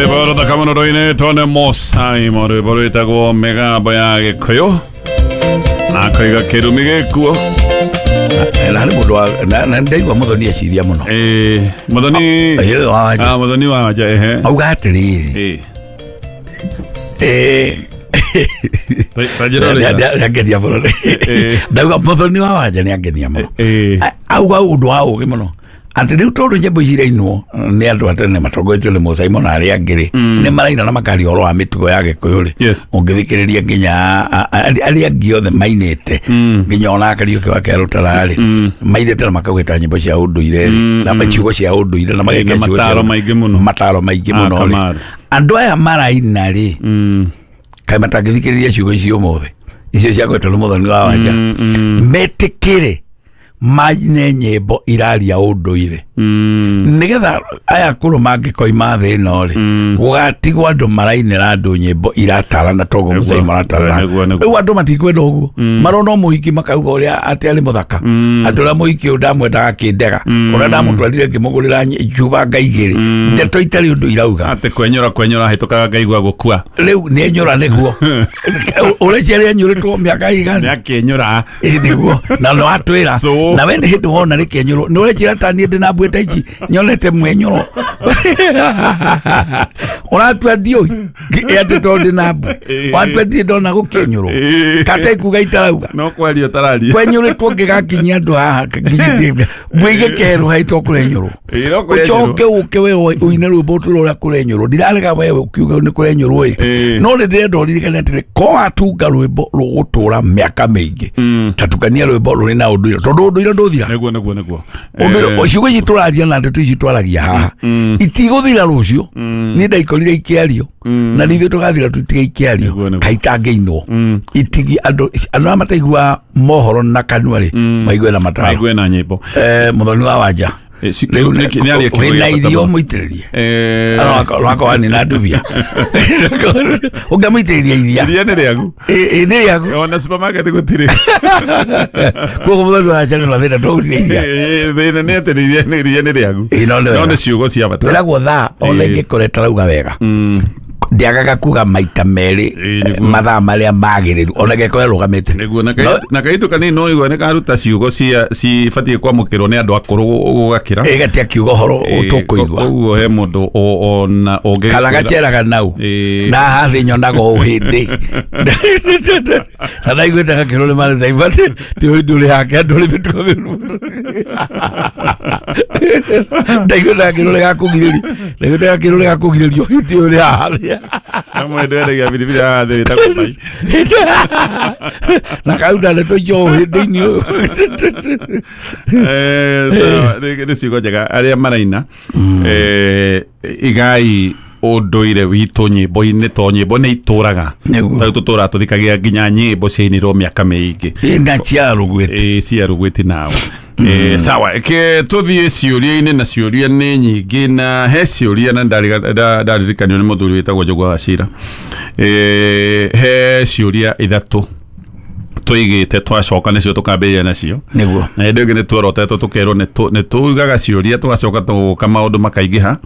Rwĩmbo rũthaka mũno rũinĩtwo nĩ Mũsaimo, rwĩmbo rwĩtagwo mĩgambo ya Gĩkũyũ na akaiga kĩrumi gĩkuo. Na harĩ mũndũ na ndaigua Muthoni eciria mũno. Muthoni. Ĩĩ, wa Wanja. Ah, Muthoni wa Wanja, ehe. Auga atĩrĩrĩ, Ta njĩra ũrĩa. Nĩangenia mũno. Ndauga Muthoni wa Wanja nĩangenia mũno. Auga ũndũ wa ũgĩ mũno atĩ rĩu tondũ nyĩmbo ici irainwo nĩ andũ a tene matongoretio nĩ Mũsaimo na arĩa angĩ rĩ, nĩ maraina na makaria ũhoro wa mĩtugo ya Gĩkũyũ rĩ. Ũngĩthikĩrĩria nginya arĩa angĩ othe mainĩte, nginya ona Kariũki wa Kerũtara rĩ, mainĩte na makaugĩta nyĩmbo cia ũndũire rĩ, na ciugo cia ũndũire na magekĩra Na ciugo cia mataro maingĩ mũno. Mataro maingĩ mũno rĩ. Kamaru. Andũ aya maraina rĩ, kaĩ matangĩthikĩrĩria ciugo icio ũmũthĩ, icio cia gwetwo nĩ Muthoni wa Wanja, metĩkĩre maine nyĩmbo iraria ũndũire, nĩgetha aya akũrũ mangĩkoima thĩ ĩno rĩ, gũgatigwo andũ marainĩra andũ nyĩmbo iratarana toguo Mũsaimo aratarana. Nĩguo, nĩguo. Rĩu andũ matikwenda ũguo, marona mũhiki makauga ũrĩa atĩ arĩ mũthaka, atĩ ũrĩa mũhiki ũyũ ndamwendaga akĩndega, ũrĩa ndamũtwarire ngĩmũgũrĩra njuba ngaigĩrĩ, ndeto itarĩ ũndũ irauga. Atĩ kwenyũra hĩtũkaga ngaigua gũkua. Rĩu nĩ enyũra nĩguo ũreciria rĩenyũrĩtwo mĩaka igana. Nĩ akĩenyũra. Ĩ, nĩguo na no atwĩra. So. Na we nĩ hĩndĩ wona rĩkĩenyũrwo nĩ ũrenjĩra ta niĩ ndĩ na mbuĩ ta ici nyonete mwenyũro ũratua ndiũi atĩ tondũ ndĩ na mbuĩ watua ndirĩ ndona gũkĩenyũrwo kata ikuga itarauga. No kwaria ũtararia. Kwenyũrĩtwo ngĩgakinyia andũ haha nginyĩtie mbuĩ igĩkerũha ito kũrenyũrwo. Ĩ, no kũrenyũrwo. Ũcoke ũke we ũine rwĩmbo ũtwĩre ũrĩa kũrenyũrwo. Ndirarega we ũkiuga nĩ kũrenyũrwo ĩ, no nĩ ndĩrenda ũririkane atĩrĩ, ko watunga rwĩmbo rũgũtũra mĩaka mĩingĩ, ta tukania rwĩmbo rũrĩ na ũndũire, tondũ ũndũire ndũthira. Nĩguo, nĩguo, nĩguo. Ũndũire, ciugo ici tũraria na ndeto ici twaragia haha itigũthira rũciũ. Niĩ ndaikorire ikĩario na nithuĩ tũgathira tũtige ikĩario. Nĩguo, nĩguo. Kaitangĩinwo itigi andũ arĩa mataiguaga mohoro na kanua rĩ, maigue na mataro. Maigue na nyĩmbo. Muthoni wa Wanja. Rĩu Nĩ aria kiugo wĩna gĩa bata irio mũno. mũitĩrĩrie rwakwa nĩ na ndubia ũngĩmũitĩrĩria iria. Iria nĩ rĩagu. Ĩ, nĩ rĩaku. Ona supermarket gũtirĩ. Koguo Muthoni wa Wanja nĩ na thĩna tũgũtirĩ iria. Thĩna nĩ atĩ iria nĩ rĩagu. Ĩ, no nĩ No wega. nĩ ciugo cia bata. Wĩragwo thaa ona ĩngĩkorwo ĩtarauga wega, ndiagaga kuga maita merĩ. Nĩguo. Mathaa marĩa magĩrĩru ona ĩngĩkorwo ĩrũgamĩte. Nĩguo, na kaitũ kanini no igua nĩ karuta ciugo cia cibatiĩ kwamũkĩrwo nĩ andũ akũrũ gũgakĩra. Ĩgatia kiugo ũhoro tũkũigua. Koguo he mũndũ ona ũngĩ Kana gaceraga nau. Na hathi nyonaga o hĩndĩ na ndaiguĩte gakĩrwo nĩ marĩ caibati ti ũndũ ũrĩ hake andũ ũrĩ mĩtugo mĩũru, ndaiguĩte gakĩrwo nĩ gakũgirĩrio, ndaiguĩte gakĩrwo nĩ gakũgirĩrio hĩndĩ ũrĩ haha. Na mwendwa endagia biribiri haha thĩ wĩtagwo Mai. Na kauta ndeto icio hĩndĩ-inĩ ũyũ. Sawa, nĩ ciugo njega arĩa maraina, igai ũndũire witũ nyĩmbo-inĩ to nyĩmbo nĩ itũraga. Nĩguo. Tarĩu tũtũraga tũthikagia nginya nyĩmbo ciainirwo mĩaka mĩingĩ. Ĩ, na cia rũgwĩti. Ĩ, cia rũgwĩti nao. Sawa, ke tũthiĩ ciũria-inĩ, na ciũria nĩ nyingĩ, na he ciũria na ndaririkanio nĩ mũthuri wĩtagwo Njũgũa wa Cira. He ciũria ithatũ tũigĩte, twacoka nĩcio tũkambĩrĩria nacio. Na hĩndĩ ĩngĩ nĩ tuorotetwo tũkerwo nĩ tugaga ciũria, tũgacoka tũgoka maũndũ makaingĩha,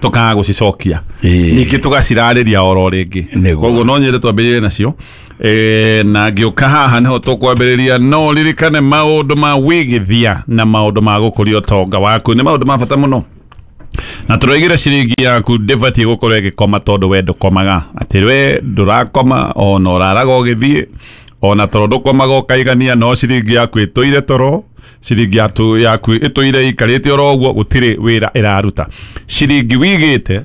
tũkaga gũcicokia, ningĩ tũgacirarĩria oro rĩngĩ. Koguo no nyende twambĩrĩrie nacio. Na ngĩũka haha nĩho tũkwambĩrĩria. No ririkane maũndũ ma wĩgithia na maũndũ ma gũkũria ũtonga waku nĩ maũndũ ma bata mũno, na tũroigire ciringi yaku ndĩbatiĩ gũkorwo ĩgĩkoma, tondũ we ndũkomaga, atĩ we ndũrakoma ona ũraraga ũgĩthiĩ, ona toro ndũkomaga ũkaigania, no ciringi yaku ĩtũire toro, ciringi yaku ĩtũire ĩikarĩte oro ũguo, gũtirĩ wĩra ĩraruta. Ciringi wigĩte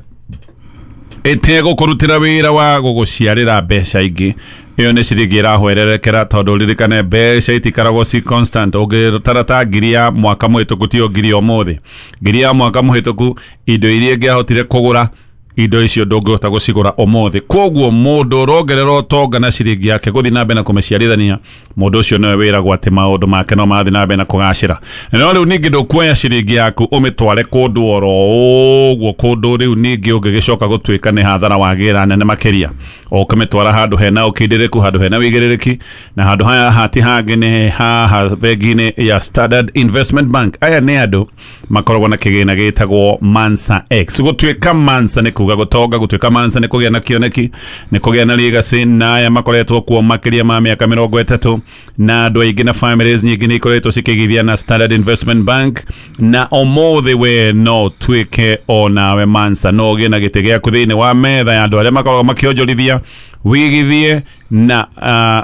ĩtegũkũrutĩra wĩra wa gũgũciarĩra mbeca ingĩ, ĩyo nĩ ciringi ĩrahwererekera, tondũ ririkane mbeca itikaragwo ci constant. Ũngĩtara ta ngiri ya mwaka mũhĩtũku tiyo ngiri ya ũmũthĩ. Ngiri ya mwaka mũhĩtũku indo iria ĩngĩahotire kũgũra, indo icio ndũngĩhota gũcigũra ũmũthĩ. Koguo mũndũ ũrongerera ũtonga na ciringi yake gũthiĩ na mbere na kũmĩciarithania, mũndũ ũcio nĩwe wĩragwo atĩ maũndũ make no marathiĩ na mbere na kũgacĩra. No rĩu ningĩ ndũkuoya ciringi yaku ũmĩtware kũndũ oro ũguo, kũndũ rĩu ningĩ ũngĩgĩcoka gũtuĩka nĩ hathara wagĩra nene makĩria. Ũkamĩtwara handũ hena ũkindĩrĩku, handũ hena wĩigĩrĩrĩki, na handũ haya hati hangĩ nĩ haha bengi-inĩ ya Standard Investment Bank. Aya nĩ andũ makoragwo na kĩgĩna gĩtagwo Mansa X. Gũtuĩka Mansa nĩ kuga gũtonga, gũtuĩka Mansa nĩ kũgĩa na kĩoneki, nĩ kũgĩa na legacy, na aya makoretwo kuo makĩria ma mĩaka 30, na andũ aingĩ na families nyingĩ nĩ ikoretwo cikĩgithia na Standard Investment Bank, na ũmũthĩ we no ũtuĩke o nawe Mansa, no ũgĩe na gĩtĩ gĩaku thĩinĩ wa metha ya andũ arĩa makoragwo makĩonjorithia wigithie, na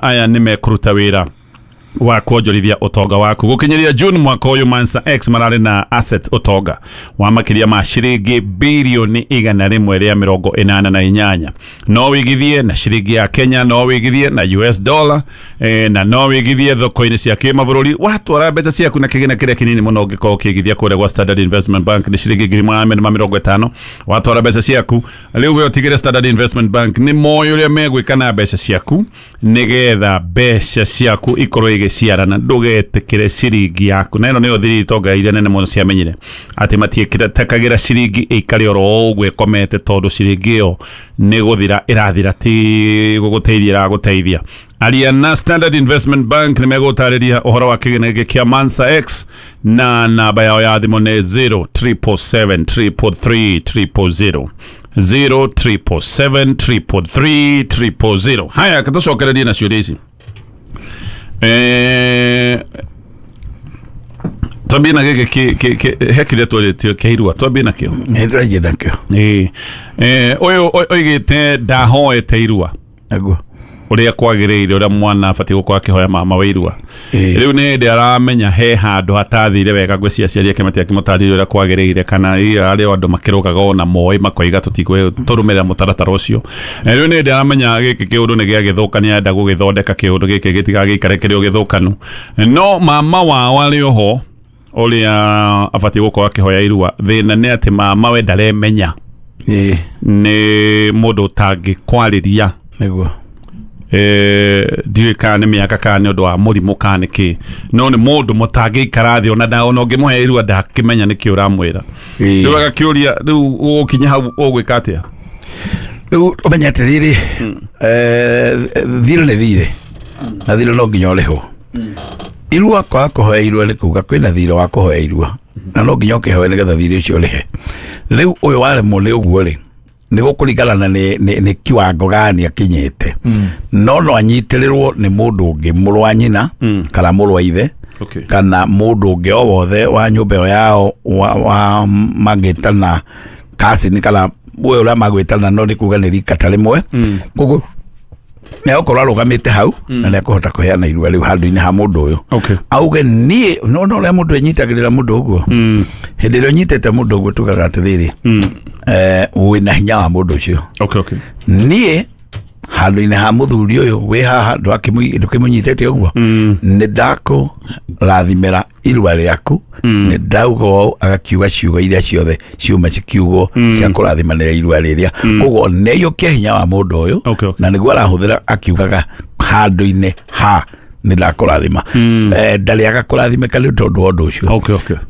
aya nĩ mekũruta wĩra wa kuonjorithia ũtonga waku. Gũkinyĩria June mwaka ũyũ, Mansa X mararĩ na asset ũtonga wa makĩria ma ciringi birioni 188. No wĩigithie na ciringi ya Kenya, no wĩigithie na US dollar, na no wĩigithie thoko-inĩ cia kĩmabũrũri. Watwara mbeca ciaku na kĩgĩna kĩrĩa kĩnini mũno ũngĩkorwo ũkĩigithia kũrĩa gwa Standard Investment Bank nĩ ciringi 450. Watwara mbeca ciaku rĩu we ũtigĩre Standard Investment Bank nĩ moĩ ũrĩa megwĩka na mbeca ciaku nĩgetha mbeca ciaku ikorwo igĩciarana. Ndũgetĩkĩre ciringi yaku, na ĩno nĩyo thiri itonga iria nene mũno ciamenyire atĩ matiĩkĩra ciringi ĩikare oro ũguo ĩkomete, tondũ ciringi ĩyo nĩ gũthira ĩrathira, ti gũgũteithia ĩragũteithia. Aria na Standard Investment Bank nĩ megũtarĩria ũhoro wa kĩgĩna gĩkĩ kĩa Mansa X, na namba yao ya thimũ nĩ 0777 333 000, 0777 333 000. Haya, tũcokererie na ciũria ici. Twambie na gĩkĩ he kĩrĩa twarĩtio kĩa irua, twambie nakĩo. Nĩ tũranjia nakĩo. Ũyũ oigĩte ndahoete irua Naguo ũrĩa kwagĩrĩire, ũrĩa mwana abatiĩ gũkorwo akĩhoya mama wa irua. Rĩu nĩ hĩndĩ aramenya he handũ hatathire wega, ngwĩciria aciari ake matiakĩmũtarĩria ũrĩa kwagĩrĩire, kana arĩa andũ makĩrũgaga ona moĩ makoiga tũtigũtũrũmĩrĩra mũtaratara ũcio. Rĩu nĩ hĩndĩ aramenya gĩkĩ kĩũndũ nĩ gĩagĩthũka, nĩ arenda gũgĩthondeka kĩũndũ gĩkĩ gĩtigagĩikare kĩrĩ o gĩthũkanu. No mama wao arĩ oho ũrĩa abatiĩ gũkorwo akĩhoya irua, thĩna nĩ atĩ mama we ndaremenya, nĩ mũndũ ũtangĩkwarĩria. Nĩguo Ndiũĩ kana nĩ mĩaka kana nĩ ũndũ wa mũrimũ kana nĩ kĩ, no nĩ mũndũ mũtangĩikara thĩ ona ũngĩmũhe irua ndakĩmenya nĩkĩ ũramwĩra. Rĩu agakĩũria, rĩu ũgũkinya hau ũgwĩka atĩa? Rĩu ũmenye atĩrĩrĩ, thirĩ nĩ thirĩ, na thirĩ no nginya ũrĩhwo. Irua kwaga kũhoya irua nĩ kuga kwĩna thirĩ wa kũhoya irua, na no nginya ũkĩhoe nĩgetha thirĩ ũcio ũrĩhe. Rĩu ũyũ waremwo nĩ ũguo rĩ, nĩ gũkũringana na nĩ kiwango gani akinyĩte. No no anyitĩrĩrwo nĩ mũndũ ũngĩ, mũrũ wa nyina kana mũrũ wa ithe, kana mũndũ ũngĩ o wothe wa nyũmba ĩyo yao wa mangĩtana cousin kana we ũrĩa magwĩtana, no nĩ kuga nĩ rika ta rĩmwe. Koguo nĩ egũkorwo arũgamĩte hau na nĩ ekũhota kũheana irua rĩu handũ-inĩ ha mũndũ ũyũ. Auge niĩ no ũrĩa mũndũ enyitagĩrĩra mũndũ ũguo. Hĩndĩ ĩrĩa ũnyitĩte mũndũ ũguo tugaga atĩrĩrĩ, wĩna hinya wa mũndũ ũcio. Niĩ handũ-inĩ ha mũthuri ũyũ wĩ haha ndũkĩmũnyitĩte ũguo, nĩ ndakũrathimĩra irua rĩaku, nĩ ndauga ũũ, agakiuga ciugo iria ciothe ciuma cikiugwo cia kũrathimanĩra irua rĩrĩa. Koguo nĩ aiyũkia hinya wa mũndũ ũyũ, na nĩguo arahũthĩra akiugaga handũ-inĩ ha nĩ ndakũrathima. Ndarĩaga kũrathimĩka nĩ tondũ wa ũndũ ũcio.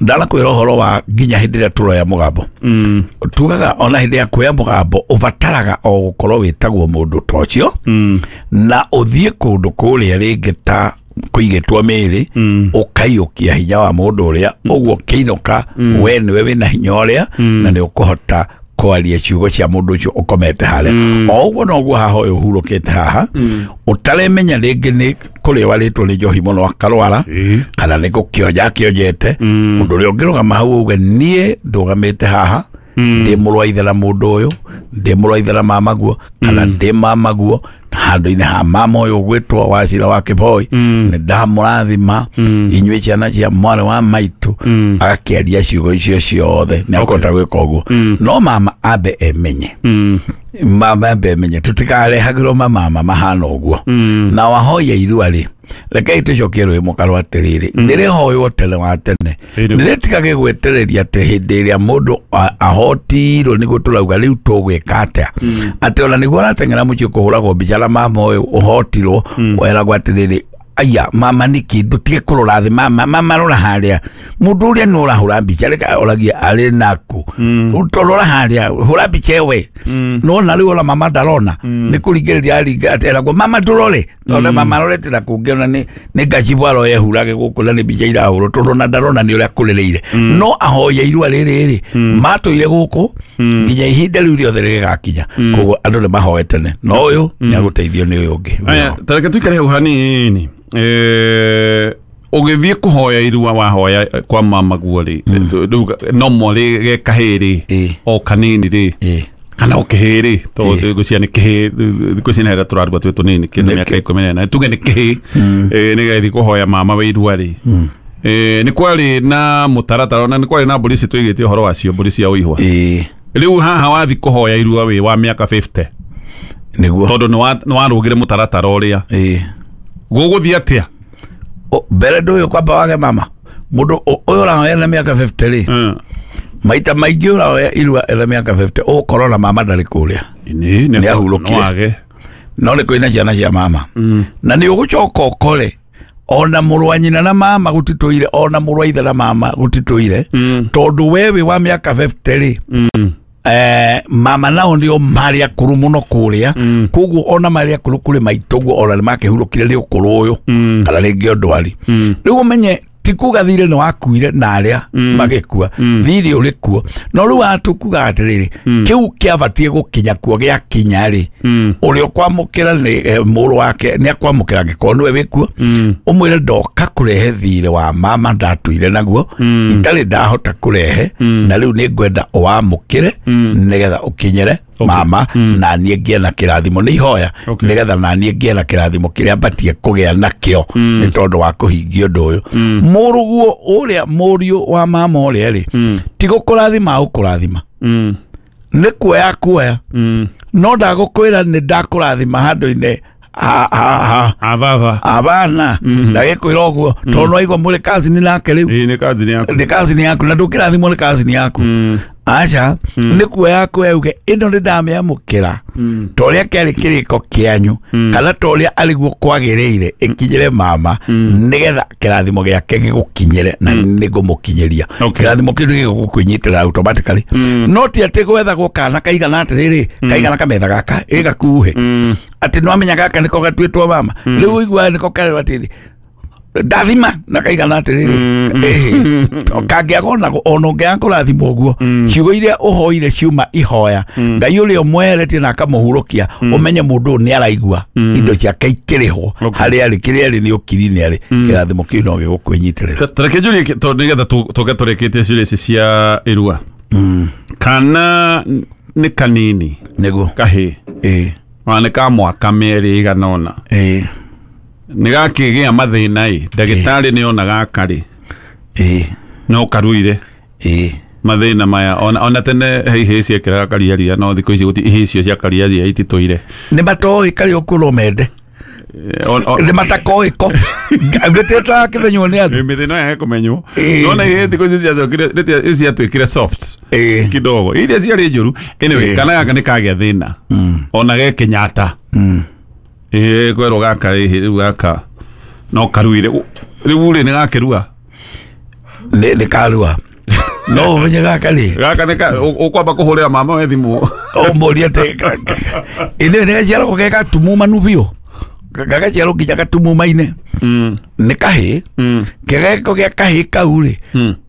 Ndanakwĩra ũhoro wa nginya hĩndĩ ĩrĩa tũroya mũgambo. Tugaga ona hĩndĩ ya kuoya mũgambo ũbataraga o gũkorwo wĩtagwo mũndũ ta ũcio, na ũthiĩ kũndũ kũrĩa rĩngĩ ta kũigĩtwo mĩĩrĩ, ũkaiyũkia hinya wa mũndũ ũrĩa, ũguo ũkĩinũka we nĩwe wĩna hinya ũrĩa, na nĩ ũkũhota kwaria ciugo cia mũndũ ũcio ũkomete harĩa. O ũguo noguo haha ũyũ ũhurũkĩte haha, ũtaremenya rĩngĩ nĩ kũrĩa warĩtwo nĩ njohi mũno akarwara, kana nĩ gũkĩonja akĩonjete. Mũndũ ũrĩa ũngĩrũgama hau auge niĩ ndũgamĩte haha, ndĩ mũrũ wa ithe na mũndũ ũyũ, ndĩ mũrũ wa ithe na mamaguo, kana ndĩ mamaguo, handũ-inĩ ha mama ũyũ ũgwĩtwo Wacira wa Kĩboi, nĩ ndamũrathima inyuĩ ciana cia mwarĩ wa maitũ. Agakĩaria ciugo icio ciothe, nĩ akũhota gwĩka ũguo. No mama ambe emenye, mama ambe emenye, tũtikarehagĩrwo mamama mahana ũguo. Na wahoya irua rĩ, rekei tũcokie rwĩ mũkaro atĩrĩrĩ, nĩ rĩhoywo tene wa tene, nĩ rĩtigage gwetereria atĩ hĩndĩ ĩrĩa mũndũ ahotirwo nĩguo tũrauga rĩu tũgwĩka atĩa, atĩ ona nĩguo arateng'era mũciĩ kũhũragwo mbica na mama ũyũ ũhotirwo, weragwo atĩrĩrĩ, Aya mama niki ndutige kurora thi mama mama rora haria mundu uria ni urahura mbica reka oragia ari naku utorora haria hura mbica we no na riu ona mama ndarona ni kurigiriria aringa ateragwo mama ndurore ona mama rorete na kungiona ni ngacibwa aroye hurage guku na ni mbica irahurwo tondu na ndarona ni uria kuririire no ahoye irua riri ri matuire guku nginya ihinda riu riothe rigakinya koguo andu ni mahoe tene no uyu ni aguteithio ni uyu ungi. Aya tareke tuikare hau hanini. Ũgĩthiĩ kũhoya irua wahoya kwa mama guo rĩ normally ge kahĩ rĩ o kanini rĩ kana o kĩhĩ rĩ tondũ ngwĩciria nĩ kĩhĩ thikũ ici nĩ harĩa tũrarua twĩ tũnini kĩndũ mĩaka 14 tuge nĩ kĩhĩ nĩgetha kũhoya mama wa irua rĩ nĩ kwarĩ na mũtaratara na nĩ kwarĩ na mbũri ici tũigĩte ũhoro wacio mbũri cia ũihwa rĩu haha wathiĩ kũhoya irua wĩ wa mĩaka 50 nĩguo tondũ nĩ warũgire mũtaratara ũrĩa gũgũthiĩ atĩa mbere ndũyũ kwamba wage mama mũndũ ũyũ ũrahoya na mĩaka 50 rĩ maita maingĩ ũrahoya irua ena mĩaka 50 ũgũkorwo na mama ndarĩ kũrĩa nĩ ahurũkire no nĩ kwĩna ciana cia mama na nĩ ũgũcoka ũkore ona mũrũ wa nyina na mama gũtitũire ona mũrũ wa ithe na mama gũtitũire tondũ we wĩ wa mĩaka 50 rĩ mama nao ndio marĩ akũrũ mũno kũrĩa koguo ona marĩ akũrũ kũrĩ maitũguo ona nĩmakĩhurũkire nĩ ũkũrũ ũyũ kana rĩngĩ ndwari rĩu ũmenye ti kuga thirĩ nĩ wakuire na arĩa magĩkua thirĩ ũrĩ kuo no rĩu atũkuga atĩrĩrĩ kĩu kĩabatiĩ gũkinya kuo gĩakinya rĩ ũrĩa ũkwamũkĩra nĩ mũrũ wake nĩ akwamũkĩra angĩkorwo nĩwe wĩkuo ũmwĩre ndoka kũrehe thirĩ wa mama ndatuire naguo itarĩ ndahota kũrehe na rĩu nĩ ngwenda ũwamũkĩre nĩgetha ũkinyĩre mama na niĩ ngĩe na kĩrathimo nĩ ihoya nĩgetha na niĩ ngĩe na kĩrathimo kĩrĩa mbatie kũgĩa nakĩo nĩ tondũ wa kũhingia ũndũ ũyũ mũrũguo ũrĩa mũriũ wa mama ũrĩa rĩ ti gũkũrathima agũkũrathima nĩ kuoya kuoya no ndagũkwĩra nĩ ndakũrathima handũ-inĩ abana ndagĩkwĩra ũguo tondũ nĩwaigua mũrĩ kazini nake rĩu nĩ kazini yaku na ndũkĩrathimwo nĩ kazini yaku aca nĩ kuoya kuoya uge ĩno nĩ ndamĩamũkĩra ta ũrĩa kĩarĩ kĩrĩko kĩanyu kana ta ũrĩa arĩguo kwagĩrĩire ĩkinyĩre mama nĩgetha kĩrathimo gĩake gĩgũkinyĩre na nĩngũmũkinyĩria kĩrathimo kĩu nĩgĩgũkwĩnyitĩra automatically no ti atĩ gwethagwo kana kaigana atĩrĩrĩ kaigana kametha gaka ĩgakuhĩ atĩ nĩwamenya gaka nĩko gatuĩtwo mama rĩu ũiguaga nĩko karerwo atĩrĩ ndathima na kaigana atĩrĩrĩ kangĩaga ona ũngĩaga kũrathimwo ũguo ciugo iria ũhoire ciuma ihoya Ngai ũrĩa ũmweheretie na akamũhurũkia ũmenye mũndũ ũyũ nĩ araigua indo ciake ikĩrĩhwo harĩa arĩ kĩrĩa arĩ nĩ ũkiri-inĩ arĩ kĩrathimo kĩu no gĩgũkwĩnyitĩrĩra. Tareke njũrie tondũ nĩgetha tũke tũrĩkĩtie ciũria ici cia irua kana nĩ kanini nĩguo kahĩ ona nĩ ka mwaka mĩerĩ ĩigana ũna nĩ gakĩgĩa mathĩna ĩ ndagĩtarĩ nĩ ona gaka rĩ no karuire mathĩna maya ona tene he ihĩĩ ciekĩraga kariaria no thikũ ici ihĩĩ icio cia kariaria ititũire nĩ matoĩ karĩ ũkũrũ mende nĩ matakoĩ ko nĩtĩrakĩmenywo nĩ andũ mĩthĩna yage kũmenywo nona ihĩĩ thikũ ici ciacokire ciatuĩkire soft kidogo iria ciarĩ njũru anyway kana gaka nĩ kagĩa thĩna ona ge Kenyatta kwĩrwo gaka rĩu gaka no karuire rĩu rĩ nĩ gakĩrua nĩ karua no ũmenye gaka rĩ gaka nĩ ũkwamba kũhũrĩra mama we thimũ ũmũrie atĩ ĩnĩ nĩ gaciaragwo ge gatumumanu biũ gagaciarwo nginya gatumumaine nĩ kahĩ kĩgeko gĩa kahĩ kau rĩ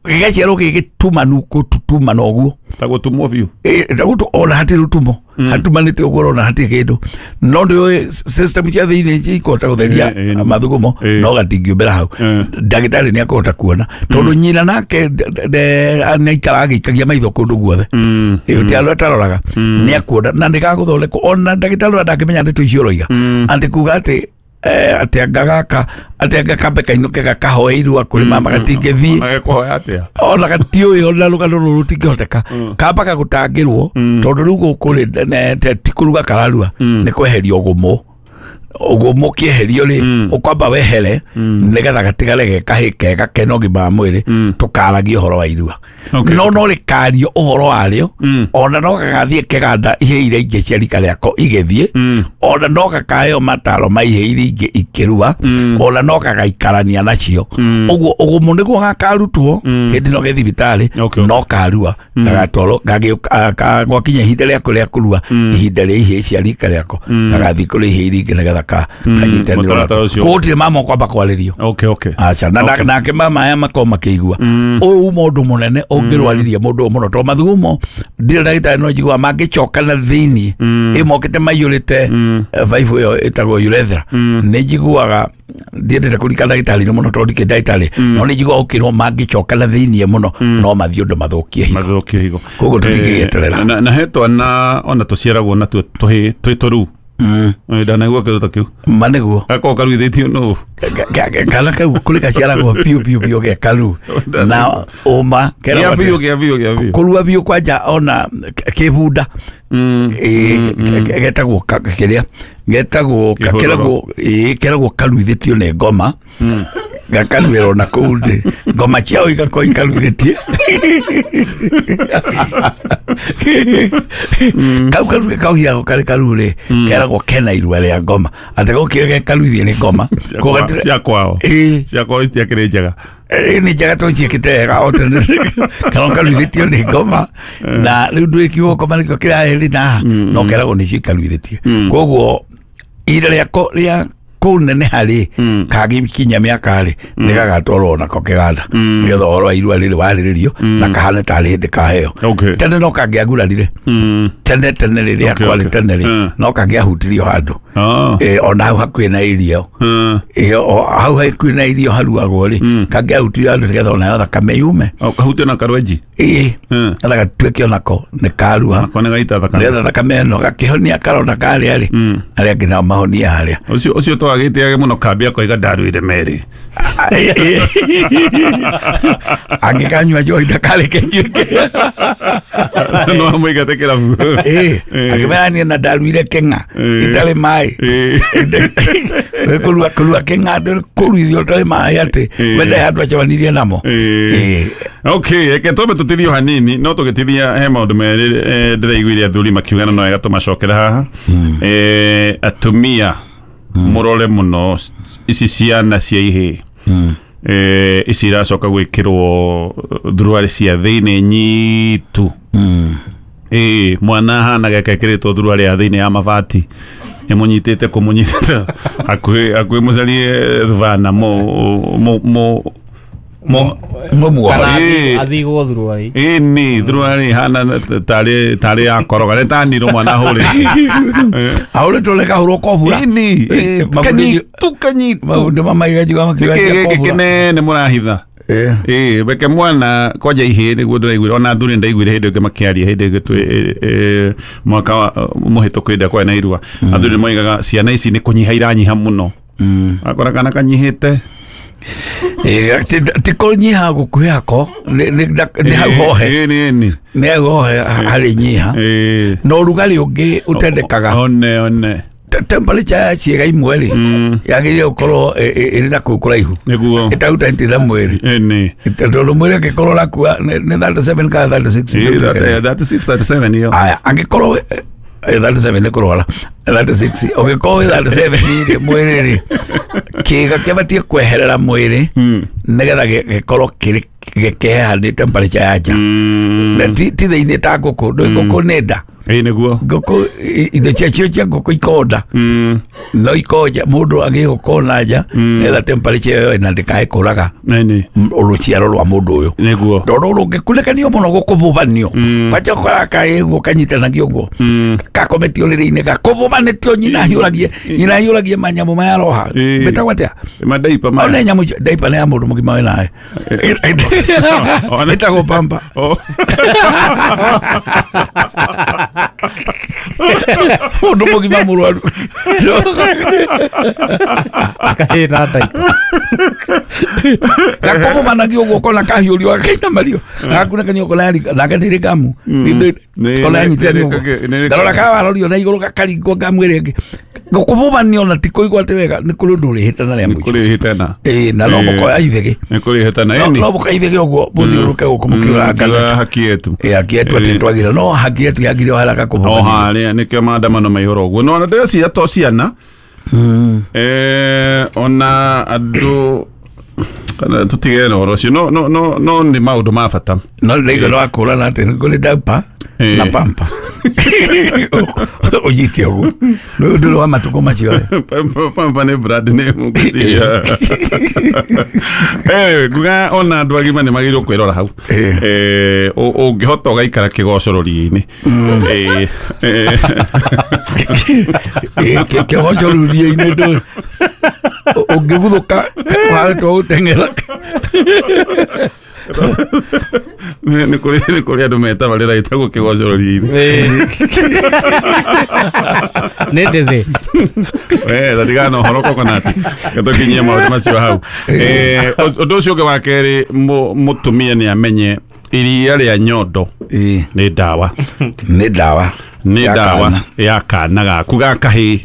gĩgaciarwo gĩ gĩtumanu gũtutumana ũguo ta gũtumwo biũ ona hatirĩ rũtumo hatumanĩte ũguo ũrona hatirĩ kĩndũ no ndĩũĩ system cia thĩinĩ ikũhota gũtheria mathugumo no gatingĩũmbĩra hau ndagĩtarĩ nĩ akũhota kuona tondũ nyina nake nĩ aikaraga agĩikagia maitho kũndũ guothe ti andũ ataroraga nĩ akuona na nĩ gagũthondekwo ona ndagĩtarĩ ũrĩa ndangĩmenya ndeto icio ũroiga atĩ kuga atĩ atĩ anga gaka atĩ anga kambe kainũke gakahoe irua kũrĩ mama gatingĩthiĩ ona gatiũĩ ona rũgano rũrũ rũtingĩhoteka kambaga gũtangĩrwo tondũ rĩu gũkũ rĩ ti kũruga kararua nĩ kweheria ũgũmũ Ũguo mũkĩeherio rĩ ũkwamba wehere nĩgetha gatigare ge kahĩ kega kena ũgima wa mwĩrĩ tũkaragie ũhoro wa irua. No no rĩkario ũhoro warĩo ona no gagathiĩ kĩganda ihĩ iria ingĩ cia rika rĩako igĩthiĩ ona no gakaheo mataro ma ihĩ iria ingĩ ikĩrua ona no gagaikarania nacio. Ũguo ũgumu nĩguo gakarutwo hĩndĩ no gĩ thibitarĩ no karua gagatwarwo gwakinya ihinda rĩako rĩa kũrua ihinda rĩa ihĩ cia rika rĩako gagathiĩ kũrĩ ihĩ iria ingĩ nĩgetha kanyitanĩrwo. Koguo gũtirĩ mama ũkwamba kwarĩrio. Aca nake mama aya makorwo makĩigua ũyũ uma ũndũ mũnene ũngĩrwaririe mũndũ ũyũ mũno tondũ mathugumo ndirĩ ndagĩtarĩ no njiguaga mangĩcoka na thĩiniĩ ĩmokĩte maiyũrĩte baibũ ĩyo ĩtagwo urethra nĩ njiguaga ndiendete kũrika ndagĩtarĩ mũno tondũ ndikĩ ndagĩtarĩ no nĩ njiguaga ũkĩrwo mangĩcoka na thĩiniĩ mũno no mathiĩ ũndũ mathũkie higo. Koguo tũtingĩgĩeterera. Na he twana ona tũciaragwo natuo twĩ tũruu. Ndanaigua kĩndũ ta kĩu. Ma nĩguo. Gakorwo karuithĩtio nũ? Kana kau kũrĩ gaciaragwo biũ biũ biũ ge karu na ũma gĩa biũ gĩa biũ gĩa biũ kũrua biũ kwanja ona kĩbunda getagwo kĩrĩa getagwo keragwo karuithĩtio nĩ ngoma gakaruĩrwo na kũu thĩ ngoma ciao igakorwo ikaruithĩtie kau karu kauhiago karĩ karu rĩ keragwo kena irua rĩa ngoma atĩ gũkĩrĩ gekaruithie nĩ ngoma cia kwao cia kwao citiakĩrĩ njega nĩ njega tondũ ciĩkĩte wega o tene kana karuithĩtio nĩ ngoma na rĩu ndwĩkiugo ngoma nĩkĩo kĩrahĩrĩ na haha no keragwo nĩcio ikaruithĩtie. Koguo ihinda rĩako rĩa kũneneha rĩ kagĩkinya mĩaka rĩ nĩ gagatwarwo nako kĩganda nĩgetha ũhoro wa irua rĩrĩ warĩrĩrio na kahane tarĩ hĩndĩ kaheo. Tene no kangĩagurarire tene tene rĩrĩa kwarĩ tene rĩ no kangĩahutirio handũ ona hau hakuhĩ na irio hau hakuhĩ na irio haruagwo rĩ kangĩahutirio handũ nĩgetha onayo thakame yume kahutio na karwenji nĩgetha gatuĩke onako nĩ karua nĩgetha thakame ĩno gakĩhonia karona karĩa rĩ arĩa angĩ nao mahonie harĩa. Ũcio twagĩtĩage mũno kambia koiga ndaruire merĩ angĩkanyua njohi ndakareke nyuĩke no amũingate kĩrabu akĩmera niĩ na ndaruire kĩng'a itarĩ maĩ kũrua kĩng'a kũruithio ũtarĩ maĩ atĩ wende handũ acemanirie namo. Okay, reke twambe tũtithie o hanini no tũgĩtithia he maũndũ merĩ ndĩraiguire athuri makiugana no wega tũmacokere haha. Atumia mũrore mũno ici ciana cia ihĩ ici iracoka gwĩkĩrwo thuruarĩ cia thĩinĩ nyitu. Mwana ahana gekekĩrĩtwo thuruarĩ ya thĩinĩ ya mabati ĩmũnyitĩte kũmũnyitĩte hakuhĩ mũcarie thubana athigwo thuruarĩ ĩni thuruarĩ hana tarĩ ya koroga nĩ ta nirũ mwana ahũrĩte ahũrĩtwo nĩ kahũrwo kobura ĩni kanyitu kanyitu maũndũ mamaiga makiuga nĩkĩ gĩkĩ kĩnene mũrahitha reke mwana kwanja ihĩ nĩguo ndĩraiguire ona athuri nĩndaiguire hĩndĩ ĩngĩ makĩaria hĩndĩ ĩngĩ mwaka mũhĩtũku hĩndĩ ĩrĩa kwarĩ na irua athuri nĩmoigaga ciana ici nĩ kũnyiha iranyiha mũno akora kana kanyihĩte ti kũnyiha gũkuhĩ hako nĩ hau hohe nĩ hau hohe harĩ nyiha na ũrugarĩ ũngĩ ũtendekaga one temperature ya ciĩga imwe rĩ yagĩrĩire gũkorwo ĩrĩ na kũu kũraihu ĩtahutanĩtie na mwĩrĩ tondũ mwĩrĩ angĩkorwo ũrakua nĩ 37 kana 36 36 37 ĩyo aya angĩkorwo 37 nĩ kũrwara 36 ũngĩkorwo wĩ 37 rĩ mwĩrĩ rĩ kĩĩga kĩbatiĩ kweherera mwĩrĩ nĩgetha gĩkorwo kĩrĩ gĩkĩheha nĩ temperature ya nja na ti thĩinĩ ta ngũkũ ndũĩ ngũkũ nĩ nda nĩguo ngũkũ indo ciacio cia ngũkũ ikonda no ikonja mũndũ agĩe gũkorwo na nja nĩgetha temperature ĩyo ĩna ndĩkae kũraga rũciaro rwa mũndũ ũyũ nĩguo tondũ rũngĩkunĩkanio mũno gũkũbũbanio kwanja ũkoraga kaĩguo kanyitanagio ũguo gakometio rĩrĩ-inĩ gakũbũbanĩtio nyina ahiũragie manyamũ maya aroha metagwo atĩa madaipa maya one nyamũ daipa nĩ ya mũndũ mũgima wĩ nawe ĩtagwo pamba mũndũ mũgima mũrwaru akahĩra daipa gakũbũbanagio ũguo ũkona kahiũrio gakainamario gagakunĩkanio ũkona nake nĩrĩ ngamu ona yanyitithanio ũguo ndarora kawarorio na igũrũ gakaringwo ngamu ĩrĩa ĩngĩ Gũkũbũbanio na ti kũigua atĩ wega nĩ kũrĩ ũndũ ũrĩhĩtana rĩa mũico. Nĩ kũrĩhĩtana. Ĩĩ, na no mũkoya ithege. Nĩ kũrĩhĩtana. No mũkoya ithege ũguo mũthiũrũrũke gũkũ mũkĩũrangana. Haki yetu. Ĩĩ, haki yetu atĩ twagire no haki yetu yagire o haraka kũbũbanio. O harĩa nĩkĩo maandamano maihũra ũguo. No ona ndĩreciria to ciana. Ona andũ tutigere na ũhoro ũcio no no no no nĩ maũndũ ma bata. No ndĩraigua no wakũrana atĩ nĩ kũrĩ diaper na pampa. Ũnyite ũguo. Nĩ ũndũ wa matukũ macio. Pampa nĩ brand name ngwĩciria. Nguga ona andũ agima nĩ magĩrĩirwo kwĩrora hau. Ũngĩhota ũgaikara kĩgoco rũriĩ-inĩ. Kĩgoco rũriĩ-inĩ ndũ ũngĩguthũka ũharetwo gũteng'era. Nĩ kũrĩ andũ metabarĩra ĩtagwo kĩgoco rũriĩ-inĩ. Nĩ ndĩthĩ. Tatigana na ũhoro coconut. Tũkinyie maũndũ macio hau. Ũndũ ũcio ũngĩ wa kerĩ, mũtumia nĩ amenye iria rĩa nyondo nĩ ndawa. Nĩ ndawa. Nĩ ndawa ya kana gaku ga kahĩĩ.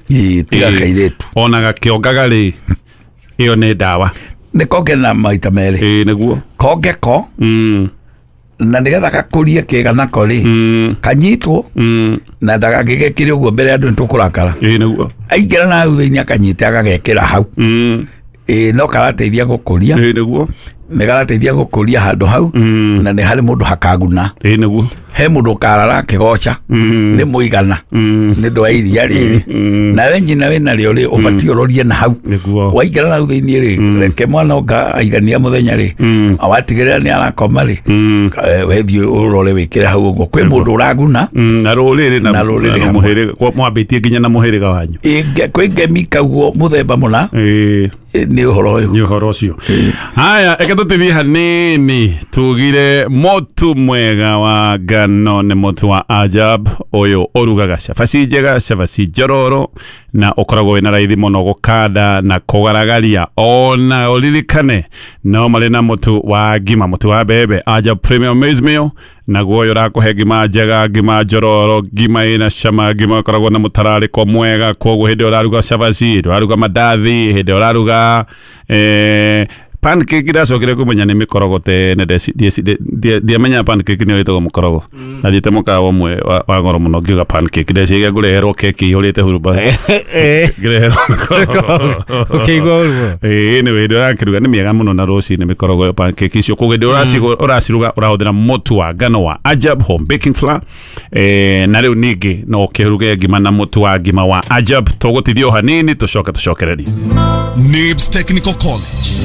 Tiga kairĩtu. Ona gakĩongaga rĩ, ĩyo nĩ ndawa. Nĩ konge na maita merĩ. Ĩĩ nĩguo. Konge ko. Na nĩgetha gakũrie kĩga nako rĩ, kanyitwo na ndagagĩgekĩre ũguo mbere ya andũ nĩtũkũrakara. Ĩĩ nĩguo. Aingĩra na hau thĩinĩ akanyite agagekĩra hau. Ĩĩ no karateithia gũkũria. Ĩĩ nĩguo. Nĩ karateithia gũkũria handũ hau na nĩ harĩ mũndũ hakaguna. Ĩĩ nĩguo. He mũndũ ũkarara akĩgoca nĩ mũigana nĩ ũndũ wa iria rĩrĩ. Nawe nyina wĩna rĩo rĩ, ũbatiĩ ũrorie na hau. Waingĩra na hau thĩinĩ rĩ, reke mwana oka aigania mũthenya rĩ, watigĩrĩra nĩ arakoma rĩ, wethiĩ ũrore wĩkĩre hau ũguo. Kwĩ mũndũ ũraguna na rũrĩrĩ na rũrĩrĩ mũhĩrĩga, mwambĩtie nginya na mũhĩrĩga wanyu. Kwĩ ngemi kauguo mũthemba mũna. Nĩ ũhoro ũyũ. Nĩ ũhoro ũcio. Haya, reke tũtithie hanini tugire motu mwega wa ngano nĩ motu wa Ajab ũyũ ũrugaga cabaci njega, cabaci njororo na ũkoragwo wĩna raithi mũno gũkanda na kũgaragaria. Ona ũririkane no marĩ na mũtu wa ngima, mũtu wa mbembe Ajab Premium Maize Meal, naguo ũyũ ũrakũhe ngima njega, ngima njororo, ngima ĩna cama, ngima ĩkoragwo na mũtararĩko mwega. Koguo hĩndĩ ũraruga cabaci, hĩndĩ ũraruga mandathi, hĩndĩ ũraruga pancake ndacokire kũmenya nĩ mĩkorogo tene, ndiamenya pancake nĩyo ĩtagwo mũkorogo. Nathiĩte mũkawa ũmwe wa goro mũno ngiuga pancake, ndeciria ngũreherwo keki ĩihũrĩte hurumbarũ, ngĩreherwo mĩkorogo. Ũkĩigua ũru mũno. Ĩĩ nĩ hĩndĩ ũrakĩruga nĩ mĩega mũno na rũcinĩ mĩkorogo ĩyo pancake icio. Koguo hĩndĩ ũraciruga ũrahũthĩra mũtu wa ngano wa Ajab Home Baking Flour. Na rĩu ningĩ no ũkĩruge ngima na mũtu wa ngima wa Ajab. Tũgũtithia o hanini tũcoke tũcokererie. Nibs Technical College.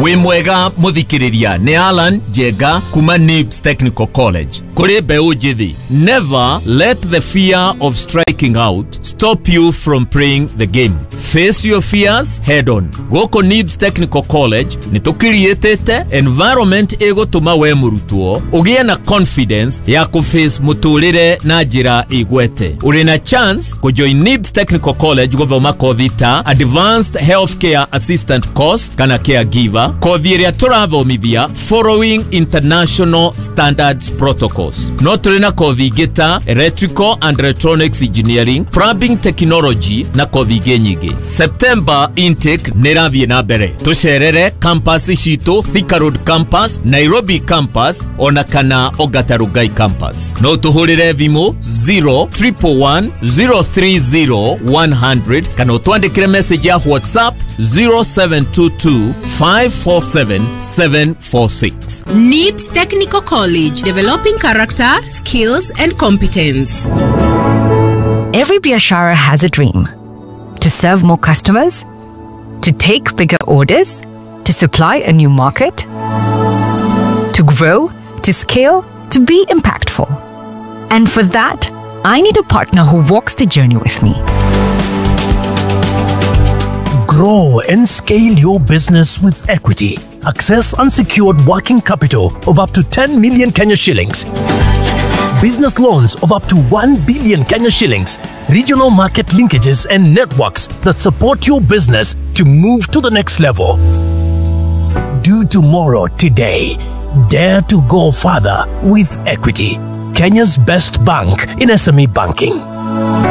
Wĩ mwega mũthikĩrĩria, nĩ Alan Njenga kuma Nibs Technical College. Kũrĩ mbeũ njĩthĩ, never let the fear of striking out stop you from playing the game. Face your fears head on. Gũkũ Nibs Technical College nĩ tũkiriĩtĩte environment ĩgũtũma we mũrutwo ũgĩe na confidence ya kũface mũtũrĩre na njĩra ĩgwete. Ũrĩ na chance kũjoin Nibs Technical College gũthoma kothi ta Advanced Healthcare Assistant Course kana Caregiver, kothi ĩrĩa tũrathomithia following international standards protocols. No tũrĩ na kothi ingĩ ta Electrical and Electronics Engineering, Plumbing Technology na kothi ingĩ nyingĩ. September intake nĩ ĩrathiĩ na mbere. Tũcerere campus citũ, Thika Road Campus, Nairobi Campus ona kana Ongata Rongai Campus. No tũhũrĩre thimũ 0111 030 100 kana ũtwandĩkĩre message ya WhatsApp 0722 547 746. Nibs Technical College, developing character, skills and competence. Every biashara has a dream. To serve more customers, to take bigger orders, to supply a new market, to grow, to scale, to be impactful. And for that, I need a partner who walks the journey with me. Grow and scale your business with Equity. Access unsecured working capital of up to 10 million Kenya shillings. Business loans of up to 1 billion Kenya shillings. Regional market linkages and networks that support your business to move to the next level. Do tomorrow today. Dare to go further with Equity. Kenya's best bank in SME banking.